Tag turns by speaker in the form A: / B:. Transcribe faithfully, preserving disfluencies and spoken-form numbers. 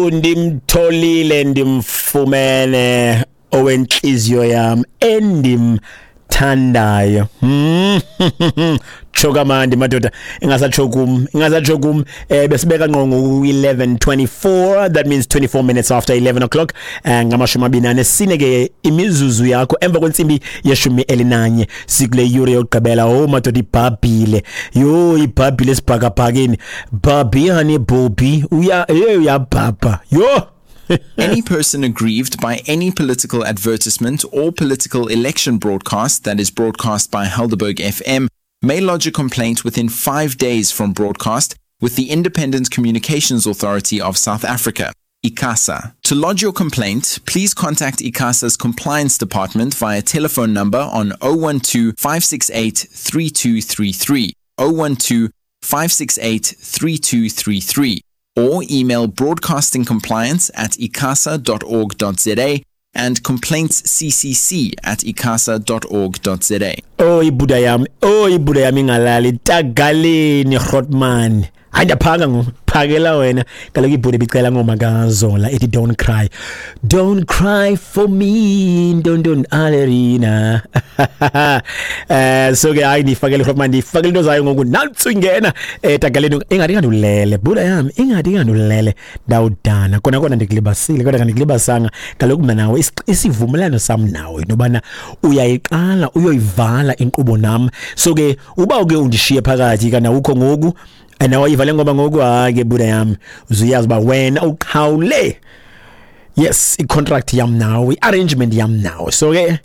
A: Oh, ndimtholile, ndimfumene owentliziyo yam endimthandayo. Hmm. Tsho kamandi madoda, ingasatsho kum, ingasatsho kum. eh besibeka ngqo ngo-eleven twenty-four, that means twenty-four minutes after eleven o'clock, eh ngamashumi amabini anesine ke imizuzu yakho emva kwentsimbi yeshumi elinanye. Sikule yure yokugqibela. Oh madoda, ibhabhile, yho, ibhabhile esibhakabhakeni. Bhabhi honey, bobby uya, hey, uyabhabha, yho.
B: Any person aggrieved by any political advertisement or political election broadcast that is broadcast by Helderberg F M may lodge a complaint within five days from broadcast with the Independent Communications Authority of South Africa, ICASA. To lodge your complaint, please contact ICASA's compliance department via telephone number on zero one two five six eight three two three three, zero one two five six eight three two three three, or email broadcasting compliance at icasa dot org dot za and complaints C C C at icasa dot org dot za.
A: Oh ibuda yam, oh ibuda yam ingalali tagaleni Grootman. Hayi, ndiyaphaka ngoku, phakela wena kaloku. Ibhuda ibicela ngoma kaZola ethi "Don't Cry". Don't cry for me, ntontoni alerina. eh so ke hayi, ndifakele Grootman, ndifakele into zayo ngoku. Nantsi ingena etagaleni, ingathi ingandulele buda yam, ingathi ingandulele. Ndawudana kona kona, ndikulibasile kodwa kandikulibasanga kaloku mna nawe. Isivumelwano sam nawe intobana uyayiqala uyoyivala inkqubo nam. So ke uba uke undishiye phakathi kana ukho ngoku nawayiva le ngoma ngoku, hayi ke buda yam, uzuyazi uba wena uqhawule, yes, i-contract yam nawe, i-arrangement yam nawe. So ke